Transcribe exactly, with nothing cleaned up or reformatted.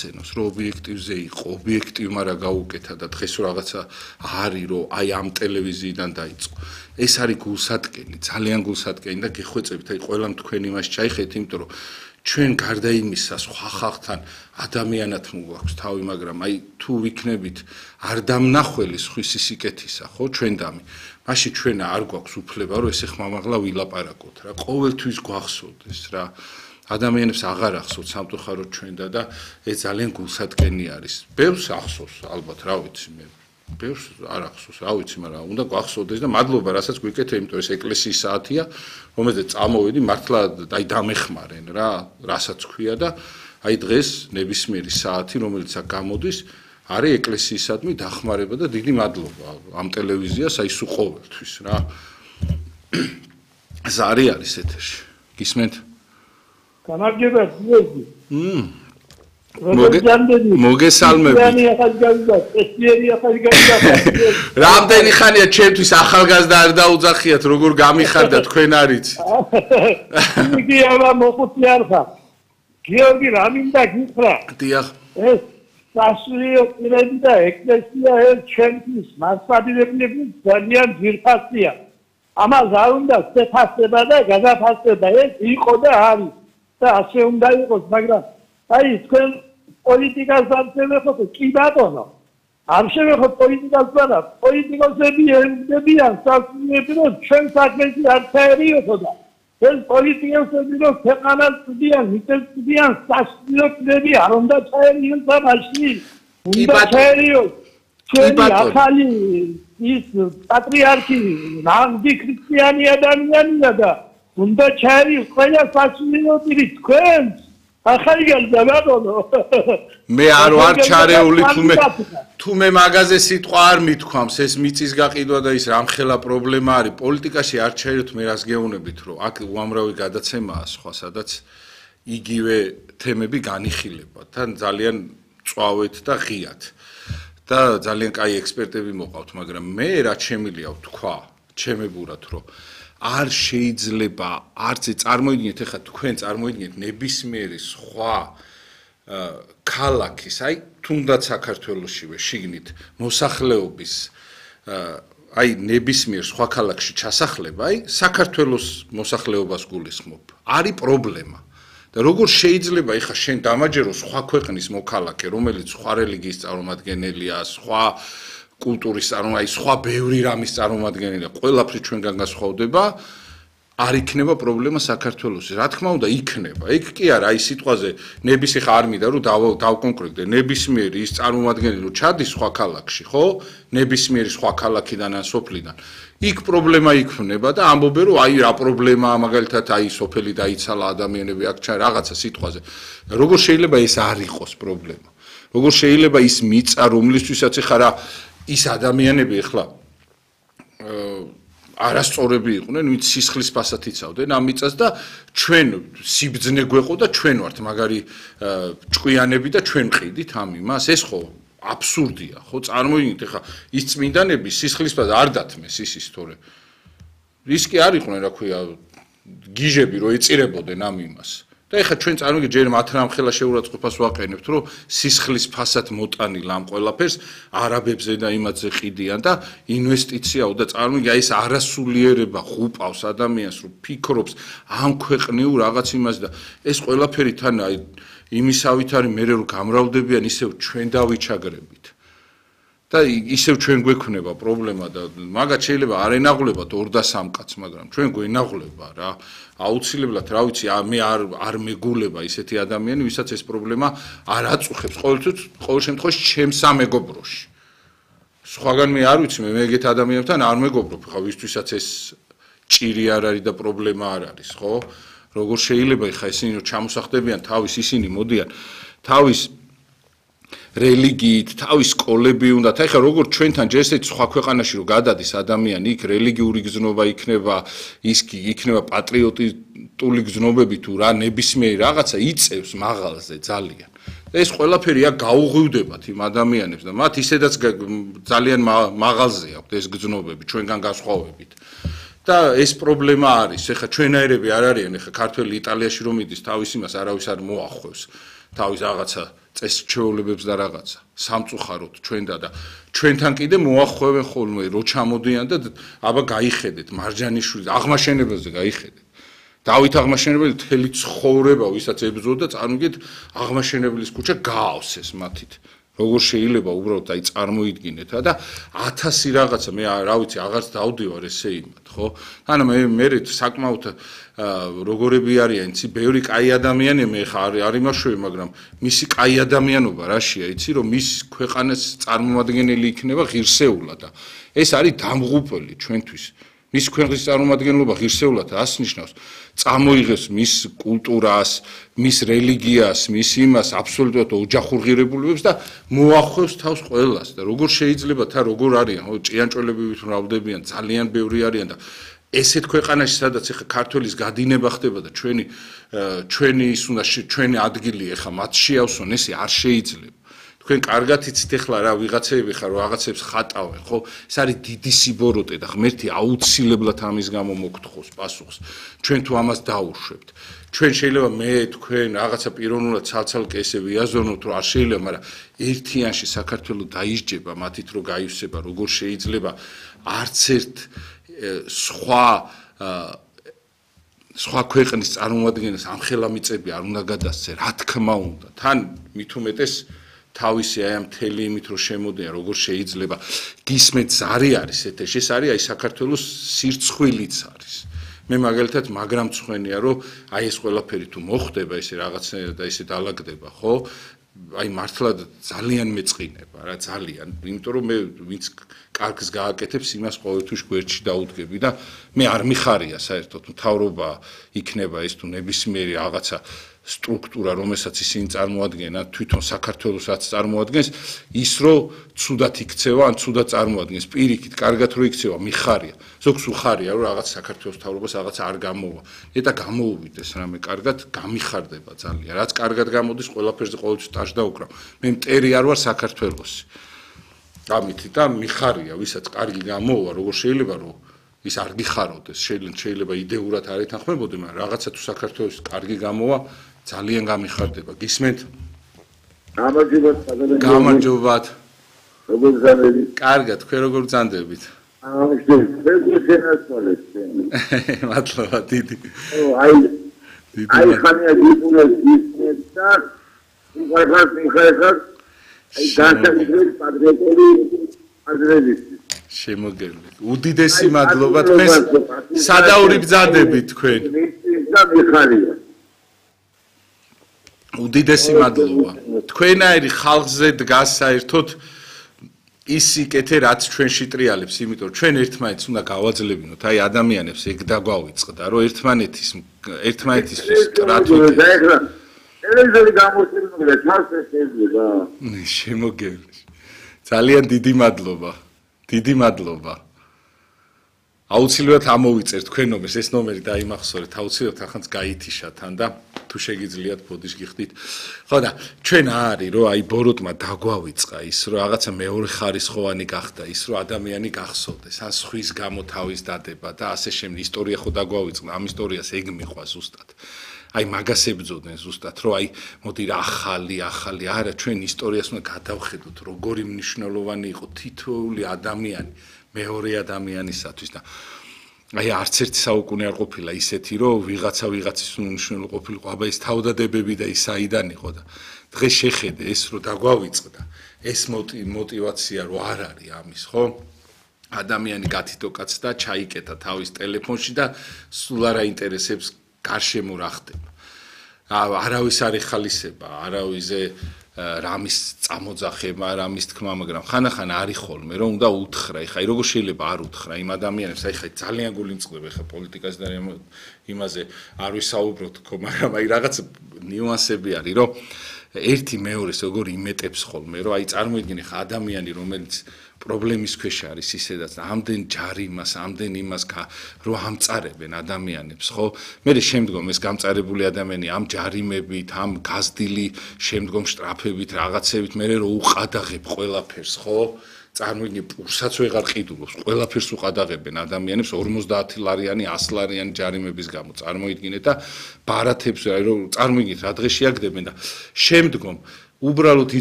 მოახსენოს, რომ ობიექტივზე იყო, ობიექტივმა რა გაუკეთა და დღეს რაღაცა არის, რომ აი ამ ტელევიზიიდან დაიწყო. ეს არის გულსატკენი, ძალიან გულსატკენი და გეხვეწებით, აი ყველამ თქვენ იმას ჩაიხეთ, იმიტომ რომ ჩვენ გარდა იმისა სხვა ხალხთან ადამიანად მოგვაქვს თავი, მაგრამ აი თუ ვიქნებით არ დამნახველი სხვის სიკეთისა, ხო, ჩვენ დამი. მაშინ ჩვენ არ გვაქვს უფლება, რომ ესე ხმამაღლა ვილაპარაკოთ რა. ყოველთვის გვახსოვდეს რა. ადამიანებს აღარ ახსოვთ სამწუხაროდ ჩვენდა და ეს ძალიან გულსატკენი არის. ბევრს ახსოვს ალბათ, რა ვიცი მე. ბევრს არ ახსოვს, რა ვიცი, მაგრამ უნდა გვახსოვდეს და მადლობა, რასაც გვიკეთე, იმიტომ ეს ეკლესიის საათია, რომელზეც წამოვედი, მართლა აი დამეხმარენ რა, რასაც ქვია და აი დღეს ნებისმიერი საათი, რომელიც აქ გამოდის, არის ეკლესიისადმი დახმარება და დიდი მადლობა ამ ტელევიზიას, აი სულ ყოველთვის რა. ზარი არის ეთერში. გისმენთ? გამარჯობა, ძიები. მმ. მოგესალმებით. რამდენი ხანია ჩემთვის ახალგაზრდა არ დაუძახიათ, როგორ გამიხარდა თქვენ არიცით. იგი აბა მოხუცი არ ხარ. გიორგი რა მინდა გითხრა? დიახ. ეს სასულიერო პირები და ეკლესია ერთ ჩემთვის მასშტაბირებული ძალიან ძირფასია. ამას არ უნდა შეფასება და გადაფასება, ეს იყო და არის და ასე უნდა იყოს, მაგრამ აი თქვენ პოლიტიკას არ შევეხოთ, კი ბატონო. არ შევეხოთ პოლიტიკას, მაგრამ პოლიტიკოსები ემდებიან სასულიერო, რომ ჩვენ საქმეში არ ჩაერიოთო და ეს პოლიტიკოსები რომ ქვეყანას წვდიან, მიწებს წვდიან, სასულიეროები არ უნდა ჩაერიოს ამაში. უნდა ჩაერიოს ჩვენი ახალი ის პატრიარქი ნამდვილ ქრისტიანი ადამიანია და უნდა ჩაერიოს ყველა სასულიეროები თქვენს. ახალი გალდაბადო. მე არ ვარ ჩარეული თუ მე თუ მე მაგაზე სიტყვა არ მithქვამს, ეს მიწის გაყიდვა და ის რამხელა პრობლემა არის. პოლიტიკაში არ ჩაეროთ, მე რას გეუბნებით, რომ აქ უამრავი გადაცემაა სხვა, სადაც იგივე თემები განიხილება და ძალიან წვავეთ და ღიათ. და ძალიან კაი ექსპერტები მოყავთ, მაგრამ მე რაც შემიძლია ვთქვა, ჩემებურად, რომ არ შეიძლება არც წარმოიდგინეთ, ეხლა თქვენ წარმოიდგინეთ ნებისმიერი სხვა ქალაქის, აი თუნდაც საქართველოსშივე შიგნით მოსახლეობის აი ნებისმიერ სხვა ქალაქში ჩასახლება, აი საქართველოს მოსახლეობას გულისხმობ. არის პრობლემა. და როგორ შეიძლება ეხლა შენ დამაჯერო სხვა ქვეყნის მოქალაქე, რომელიც სხვა რელიგიის წარმომადგენელია, სხვა კულტურის წარმომადგენელი, აი სხვა ბევრი რამის წარმომადგენელია, ყველაფრით ჩვენგან განსხვავდება, არ იქნება პრობლემა საქართველოსში. რა თქმა უნდა, იქნება. იქ კი არა, აი სიტყვაზე ნების ეხა არ მინდა რომ დავკონკრეტდე, ნებისმიერი ის წარმომადგენელი რომ ჩადის სხვა ქალაქში, ხო? ნებისმიერი სხვა ქალაქიდან ან სოფლიდან. იქ პრობლემა იქნება და ამბობენ რომ აი რა პრობლემაა, მაგალითად აი სოფელი დაიცალა, ადამიანები აქ ჩა რაღაცა სიტყვაზე. როგორ შეიძლება ეს არ იყოს პრობლემა? როგორ შეიძლება ის მიწა, რომლისთვისაც ეხა რა ის ადამიანები ეხლა არასწორები იყვნენ, ვინც სისხლის ფასად იცავდნენ ამ მიწას და ჩვენ სიბძნე გვეყო და ჩვენ ვართ მაგარი ჭკვიანები და ჩვენ ყიდით ამ იმას, ეს ხო აბსურდია, ხო წარმოიდგინეთ ეხლა ის წმინდანები სისხლის ფასად არ დათმეს ისის თორე ის კი არ იყვნენ, რა ქვია, გიჟები რომ ეწირებოდნენ ამ იმას. და ეხლა ჩვენ წარმოგიდგენთ ჯერ მათ რამხელა შეურაცხყოფას ვაყენებთ, რომ სისხლის ფასად მოტანილ ამ ყველაფერს არაბებზე და იმათზე ყიდიან და ინვესტიციაო და წარმოგიდგენთ აი ეს არასულიერება ღუპავს ადამიანს, რომ ფიქრობს ამ ქვეყნიურ რაღაც იმას და ეს ყველაფერი თან აი იმისავით არის მე რომ გამრავდებიან ისევ ჩვენ დავიჩაგრებით. და ისევ ჩვენ გვექნება პრობლემა და მაგათ შეიძლება არ ენაღლებათ ორ და სამ კაცს, მაგრამ ჩვენ გვენაღლება რა. აუცილებლად, რა ვიცი, მე არ არ მეგულება ისეთი ადამიანი, ვისაც ეს პრობლემა არ აწუხებს ყოველთვის, ყოველ შემთხვევაში ჩემს სამეგობროში. სხვაგან მე არ ვიცი, მე მეგეთ ადამიანებთან არ მეგობრობ, ხა ვისთვისაც ეს ჭირი არ არის და პრობლემა არ არის, ხო? როგორ შეიძლება ხა ისინი რომ ჩამოსახდებიან თავის ისინი მოდიან თავის რელიგიით, თავის სკოლები უნდათ. ეხლა როგორ ჩვენთან ჯერ ესეც სხვა ქვეყანაში რომ გადადის ადამიანი, იქ რელიგიური გზნობა იქნება, ის იქნება პატრიოტული გზნობები თუ რა ნებისმიერი რაღაცა იწევს მაღალზე ძალიან. და ეს ყველაფერი აქ გაუღვივდებათ იმ ადამიანებს და მათ ისედაც ძალიან მაღალზე აქვთ ეს გზნობები ჩვენგან განსხვავებით. და ეს პრობლემა არის. ეხლა ჩვენაერები არ არიან, ეხლა ქართველი იტალიაში რომ იდის, თავის იმას არავის არ მოახვევს. თავის რაღაცა წესჩვეულებებს და რაღაცა სამწუხაროდ ჩვენდა და ჩვენთან კიდე მოახვევენ ხოლმე რო ჩამოდიან და აბა გაიხედეთ მარჯანიშვილს აღმაშენებელზე გაიხედეთ დავით აღმაშენებელი მთელი ცხოვრება ვისაც ებრძოდა წარმოგიდგეთ აღმაშენებლის ქუჩა გაავსეს მათით როგორ შეიძლება უბრალოდ აი წარმოიდგინეთ და ათასი რაღაცა მე რა ვიცი აღარც დავდივარ ესე იმათ ხო ანუ მე მე საკმაოდ როგორები არიან იცი ბევრი კაი ადამიანი მე ხარ არ იმაშვები მაგრამ მისი კაი ადამიანობა რაშია იცი რომ მის ქვეყანას წარმომადგენელი იქნება ღირსეულად და ეს არის დამღუპელი ჩვენთვის მის ქვეყნის წარმომადგენლობა ღირსეულად ასნიშნავს წამოიღებს მის კულტურას, მის რელიგიას, მის იმას აბსოლუტურად ოჯახურ ღირებულებებს და მოახვევს თავს ყველას და როგორ შეიძლება თა როგორ არიან, ხო, ჭიანჭველები მრავლდებიან, ძალიან ბევრი არიან და ესეთ ქვეყანაში სადაც ეხა ქართველის გადინება ხდება და ჩვენი ჩვენი ის უნდა ჩვენი ადგილი ეხა მათ შეავსონ, ესე არ შეიძლება. თქვენ კარგად იცით ეხლა რა ვიღაცები ხარ რაღაცებს ხატავენ ხო ეს არის დიდი სიბოროტე და ღმერთი აუცილებლად ამის გამო მოგთხოვს პასუხს ჩვენ თუ ამას დაუშვებთ ჩვენ შეიძლება მე თქვენ რაღაცა პიროვნულად ცალ-ცალკე ესე ვიაზროთ რომ არ შეიძლება მაგრამ ერთიანში საქართველოს დაისჯება მათით რომ გაივსება როგორ შეიძლება არც ერთ სხვა სხვა ქვეყნის წარმომადგენელს ამხელა მიწები არ უნდა გადასცე რა თქმა უნდა თან მით უმეტეს თავისი აი ამ მთელი იმით რომ შემოდიან როგორ შეიძლება გისმენთ ზარი არის ეთეში ეს არის აი საქართველოს სირცხვილიც არის მე მაგალითად მაგრამ მწვენია რომ აი ეს ყველაფერი თუ მოხდება ესე რაღაცნაირად და ესე დაალაგდება ხო აი მართლა ძალიან მეწყინება რა ძალიან იმიტომ რომ მე ვინც კარგს გააკეთებს იმას ყოველთვის გვერდში დაუდგები და მე არ მიხარია საერთოდ მთავრობა იქნება ეს თუ ნებისმიერი რაღაცა სტრუქტურა რომელსაც ისინი წარმოადგენენ თვითონ საქართველოსაც წარმოადგენს ის რომ ცუდად იქცევა ან ცუდად წარმოადგენს პირიქით კარგად რო იქცევა მიხარია ზოგს უხარია რომ რაღაც საქართველოს მთავრობას რაღაც არ გამოვა ეტა გამოუვიდეს რამე კარგად გამიხარდება ძალიან რაც კარგად გამოდის ყველაფერზე ყოველთვის ტაშ დაუკრავ მე მტერი არ ვარ საქართველოსი ამით და მიხარია ვისაც კარგი გამოვა როგორ შეიძლება რომ ის არ გიხაროდეს შეიძლება იდეურად არ ეთანხმებოდი მაგრამ რაღაცა თუ საქართველოს კარგი გამოვა ძალიან გამიხარდება გისმენთ გამარჯობათ გამარჯობათ როგორ გზანდებით კარგად თქვენ როგორ გზანდებით აა შეგეცვალეთ მადლობა დიდი აი აი ხანია გიყურეს ისეთ და უხარხარ მიხარხარ აი განსაკუთრებით პატრიოტული აზრებით შემოგევლეთ უდიდესი მადლობა თქვენს სადაური ბრძანდებით თქვენ და მიხარია უდიდესი მადლობა თქვენაირი ხალხზე დგას საერთოდ ის სიკეთე რაც ჩვენში ტრიალებს იმიტომ ჩვენ ერთმანეთს უნდა გავაძლებინოთ აი ადამიანებს ეგ დაგვავიწყდა რომ ერთმანეთის ერთმანეთისთვის სტრატეგია ეხლა ტელევიზორი გამოსწორებული ჩანს ეს შეიძლება შემოგევლეთ ძალიან დიდი მადლობა დიდი მადლობა აუცილებლად ამოვიწერთ თქვენ ნომერს ეს ნომერი დაიმახსოვრეთ აუცილებლად ახანც გაითიშა თან და თუ შეგიძლიათ ბოდიშ გიხდით ხო და ჩვენ არის რომ აი ბოროტმა დაგვავიწყა ის რომ რაღაცა მეორე ხარისხოვანი გახდა ის რომ ადამიანი გახსოვდეს ან სხვის გამო თავის დადება და ასე შემდეგ ისტორია ხო დაგვავიწყდა ამ ისტორიას ეგ მიყვა ზუსტად აი მაგას ებძოდნენ ზუსტად რომ აი მოდი რა ახალი ახალი არა ჩვენ ისტორიას უნდა გადავხედოთ როგორი მნიშვნელოვანი იყო თითოეული ადამიანი მეორე ადამიანისათვის და აი არც ერთი საუკუნე არ ყოფილა ისეთი რომ ვიღაცა ვიღაცის უნიშნელო ყოფილიყო აბა ის თავდადებები და ის აიდან იყო და დღეს შეხედე ეს რომ დაგვავიწყდა ეს мотиваცია რო არ არის ამის ხო ადამიანი გათითოკაც და ჩაიკეთა თავის ტელეფონში და სულ არ აინტერესებს გარშემო რა ხდება არავის არ ეხალისება არავიზე რამის წამოძახება რამის თქმა მაგრამ ხანახან არის ხოლმე რომ უნდა უთხრა ეხა როგორ შეიძლება არ უთხრა იმ ადამიანებს აი ხა ძალიან გულიმწყდება ეხა პოლიტიკას და იმაზე არ ვისაუბროთ ხო მაგრამ აი რაღაც ნიუანსები არის რომ ერთი მეორეს როგორ იმეტებს ხოლმე რომ აი წარმოიდგინე ხა ადამიანი რომელიც პრობლემის ქვეშ არის ისედაც ამდენ ჯარიმას ამდენ იმას რომ ამწარებენ ადამიანებს ხო მე შემდგომ ეს გამწარებული ადამიანი ამ ჯარიმებით ამ გაზრდილი შემდგომ შტრაფებით რაღაცებით მე რომ უყადაღებ ყველაფერს ხო წარმოიდგინე პურსაც ვეღარ ყიდულობს ყველაფერს უყადაღებენ ადამიანებს ორმოცდაათი ლარიანი ასი ლარიანი ჯარიმების გამო წარმოიდგინე და ბარათებს რომ წარმოიდგინეთ რა დღეს შეაგდებენ და შემდგომ უბრალოდ